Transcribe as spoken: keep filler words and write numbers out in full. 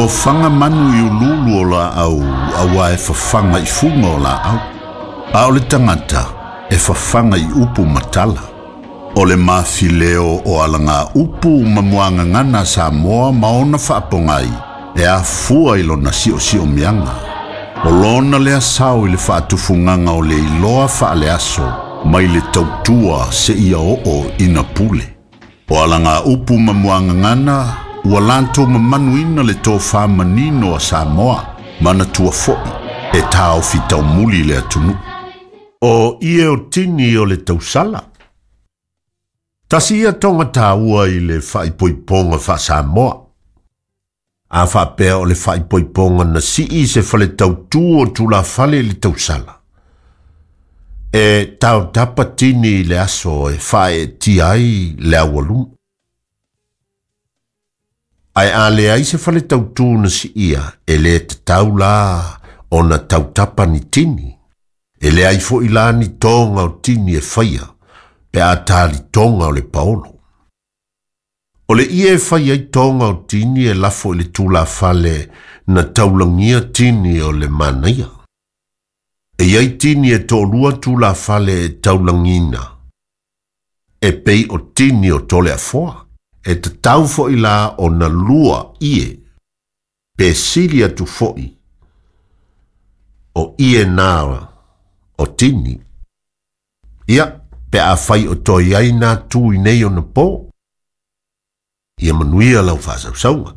ofaga manu i ululu o laau auā e fafaga i fuga o laau. A o le tagata e fafaga i upu matala. O le mafileo o alaga upu ma muagagana Samoa ma ona faapogai e afua i lona siosiomiaga. O lona lea sao i le faatufugaga o le iloa faaleaso mai le tautua seia oo ina pule. O alaga upu ma muagagana ua latou mamanuina le tofā manino a Samoa manatua fo'i e taofi taumuli le atunuu. O ie o tini o le tausala. Tasi ia toga tāua i le faaipoipoga faa-Samoa. A faapea o le faaipoipoga na sii se fale tautū o tulafale i le tausala. E tautapa tini i le aso e faaeetia ai le aualuma. Ae a leai se fale tautū na siia e lē tatau la ona tautapa ni tini. E leai fo'i la ni toga o tini e faia pe a talitoga o le paolo. O le ie e fai ai toga o tini e lafo i le tulafale na taulagia tini o le manaia. E iai tini e toalua tulafale e taulagina. E pei o tini o Toleafoa. E tatau fo'i la ona lua ie. Pe sili atu fo'i o ie nā o tini. Ia, pe afai o toe ai nā tu i nei ona pō. Ia manuia lau faasausauga.